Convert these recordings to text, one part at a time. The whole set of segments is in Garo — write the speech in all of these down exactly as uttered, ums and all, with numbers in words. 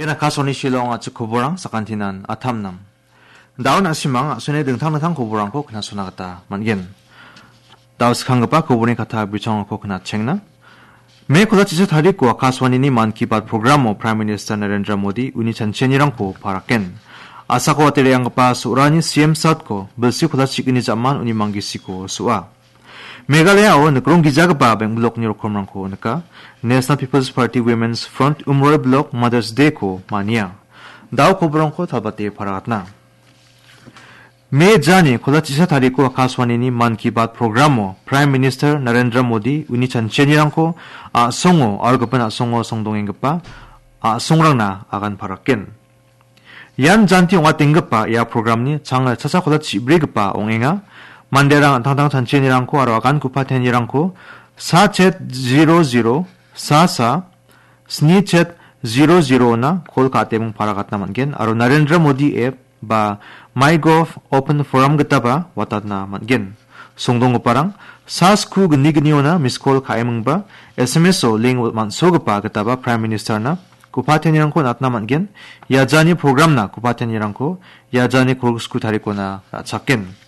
Ian Akashvani Shillong a·chik koborang sakantinan atamnam. Dao na·simang a·sone dingtang dingtang koborangko knasona gita man·gen. Dao skanggipa koborni kata bichongrangko knatchengna. Me kolachisa tariko Akashvanini Mann Ki Baat programo Prime Minister Narendra Modi uni chanchianirangko paraken. Asako atereanggipa so·rani C M satko bilsi kolachikni jaman uni manggisiko so·a. Meghalayao nikrong gijagipa beng·blokni rokomrangko nika. National People's Party Women's Front Umroi Block Mother's Day-ko mania. Dao koborangko talbate paragatna. Me jani kolachisa tariko Akashvanini Mann Ki Baat programo Prime Minister Narendra Modi uni chanchianirangko a·songo aro gipin a·songo songdongenggipa a·songrangna agan paraken. Ian janti ong·atenggipa ia programni changel chacha kolachik chibrigipa ong·enga. Manderang an·tangtang chanchianirangko aro agan kupatianirangko sa chet zero zero sa sa sni chet zero zero-na kol ka·atebong paragatna man·gen aro Narendra Modi app ba MyGov Open Forum gitaba watatna man·gen. Songdonggiparang sa sku gni gniona miskol ka·emingba S M S-o link man·sogipa gitaba Prime Minister-na kupatianirangko natna man·gen. Iajani programna kupatianirangko iajani kolgriksku tarikona ra·chaken.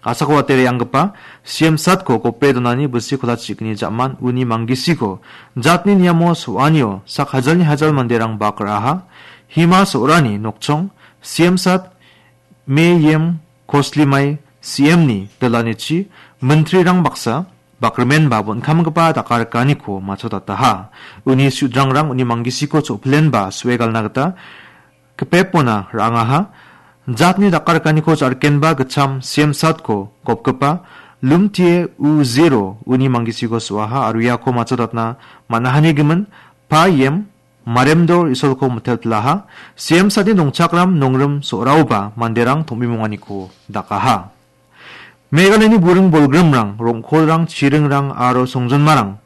Asako atereanggipa C M satko gope donani bilsi kolachikni jaman uni manggisiko jatni niamo so·anio sak hajalni hajal manderang bak ra·aha. Hima so·rani nokchong C M sat Me Yem Koslimai C M-ni dilanichi mintrirang baksa bakrimenba bon·kamgipa dakarikaniko matchotataha. Uni sudrangrang uni manggisiko cho·pilenba so·e galna gita kipepona ra·angaha. Jatni dakarikaniko ja·rikenba gitcham C M satko gopgipa Lumtie U Zero uni manggisiko so·aha aro iako matchotatna man·ahanigimin Pa Yem Maremdor Isolko mitelpilaha. C M satni dongchakram nongrim so·raoba manderang tom·bimonganiko dakaha. Meghalayani buring bolgrimrang, rong·kolrang, chiringrang aro songjinmarang.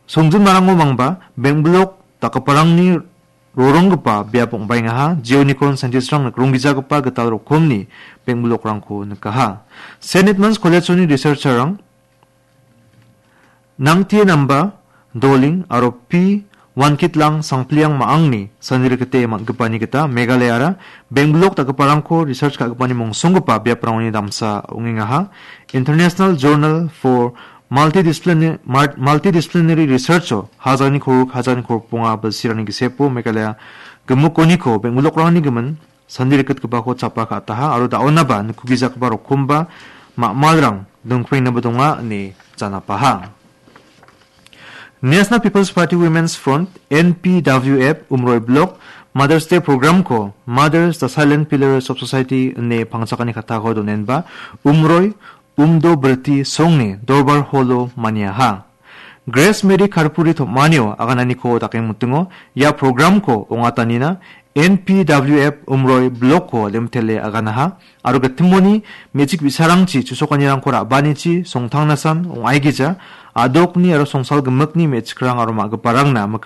Songjinmarango mangba beng·blok dakgiparangni roronggipa biap ong·baengaha. Jeonikon scientistrang nikronggijagipa gital rokomni beng·blokrangko nikaha. Saint Edmund's College-oni researcher-rang Nangtie Namba, Doling aro P Wankitlang Sangpliang ma·angni sanirikite man·gipani gita Meghalayara beng·blok dakgiparangko research ka·gipani mongsonggipa biaprangoni damsa ong·engaha. International Journal for Multidisciplin-, Mar-, Multidisciplinary Research-o hajalni korok, hajalni korokbonga bilsirangni gisepo Meghalaya gimikoniko beng·blokrangni gimin sandi rikgitgipako chapa ka·ataha aro da·onaba nikkugijagipa rokomba ma·malrang dongpengnaba donga ine janapaha. National People's Party Women's Front, N P W F, Umroi Block, Mother's Day Programko Mothers, the Silent Pillars of Society ine pangchakani katako donenba, Umroi, Umdo Birti Songni Dorbar Holo maniaha. Grace Mary Karpuri tom·anio agananiko dakengmitingo ia programko ong·atanina N P W F Umroi Blokko limtele aganaha aro gitimoni me·chik bi·sarangchi chusokanirangko ra·banichi songtangnasan ong·aigija, a·dokni aro songsal gimikni me·chikrang aro ma·giparangna